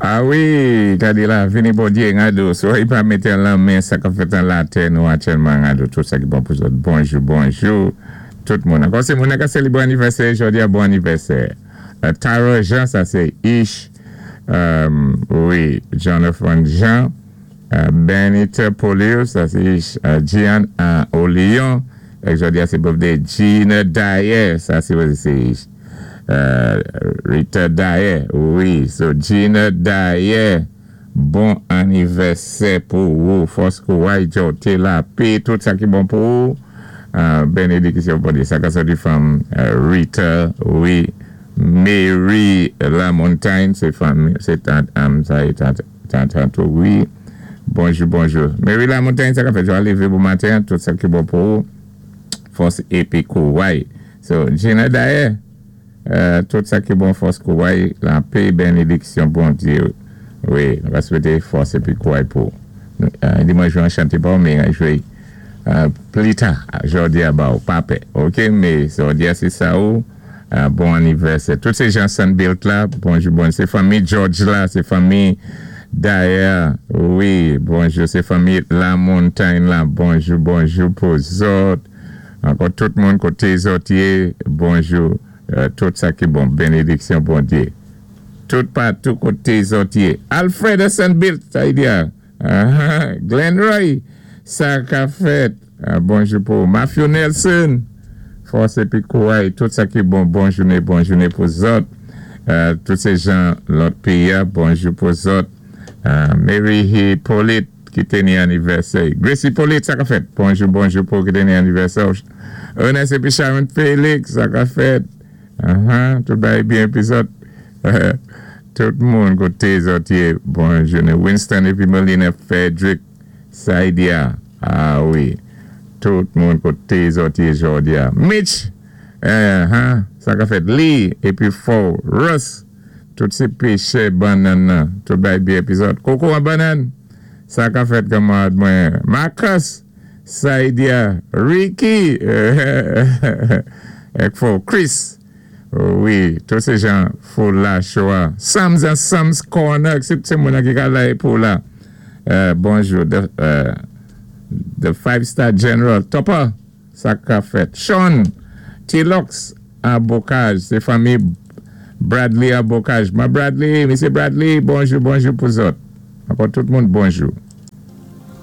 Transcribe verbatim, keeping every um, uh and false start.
A wi, kadi la, vini Bondyé, ngado, so i pa mété lanmen sa ka fèt an latè nou aktyèlman ngado, tout sa ki bon pou zòt. Bonjou, bonjou, tout moun. Ankò sé moun ka sélébwé anivèsè, jòdi a bon anivèsè. Uh, Tara Jean, sa sé Ish, um, wi, Jonathan Jean, uh, Benita Polius, sa sé Ish, uh, Gian uh, Olion, ek jòdi a sé birthday Gina Dyer, sa sé sé Ish. Uh, Rita Dyer, wi, so Gina Dyer, bon anivèsè pou ou, fòs kouway jòté lapé, tout sa ki bon pou ou, uh, bénédiksyon Bondyé, sa ka sòti fanm uh, Rita, wi, Mary Lamontagne, sé fanm, sé tant, um, sa é tant, tant, tant, wi, bonjou, bonjou. Mary Lamontagne, sa ka fè jwa lévé bon maten, tout sa ki bon pou ou, fòs épi kouway. So, Gina Dyer, euh, tout sa ki bon fòs kouway, lapé bénédiksyon Bondyé, wi, nou va swété fòs épi kouway pou. Euh, di mwen jwé an chanté pa ou, mé an jwé euh, pli ta, jòdi a ba ou, pa pè, ok, mé jòdi a sé sa ou, euh, bon anivèsè. Tout sé jan Sunbuilt la, bonjou, bon, sé fanmi George la, sé fanmi Dyer, wi, bonjou, sé fanmi Lamontagne la, bonjou, bonjou pou zòt, ankò tout moun koté zòt yé, bonjou, euh, tout sa ki bon, bénédiksyon Bondyé. Tout patou koté zòt yé. Alfred Sunbuilt, sa y di a. Uh-huh. Glenn Roy, sa ka fèt. Uh, bonjou pou Matthew Nelson, fòs épi kouway, tout sa ki bon, bon jouné, bon jouné pou zòt. Uh, tout sé jan lòt péyi a, bonjou pou zòt. Uh, Mary Hippolyte, ki té ni anivèsè. Gracie Hippolyte, sa ka fèt. Bonjou, bonjou pou ki té ni anivèsè. Ernest épi Sharon Félix, sa ka fèt. Uh-huh, tout bagay byen épi zòt. Tout moun koté zòt yé, bon jouné. Winston épi Melina Frederick Saidia. A wi. Tout moun koté zòt yé jòdi a. Mitch, uh-huh, sa ka fèt. Lee épi Fo, Russ, tout sé péchè bannann nan. Tout bagay byen épi zòt. Koko an bannann, sa ka fèt kanmarad mwen. Marcus, Saidia, Ricky, ek Fo, Chris, wi, tout sé jan fo la choua. Sam's and Sam's Corner, sé sé moun ki ka la pou la. Euh, bonjou, the, uh, the Five Star General, Topper, sa ka fèt. Sean, T-Lux, a Bocage, sé fanmi Bradley a Bocage. Ma Bradley, Mesye Bradley, bonjou, bonjou pou zòt. Ankò tout moun, bonjou.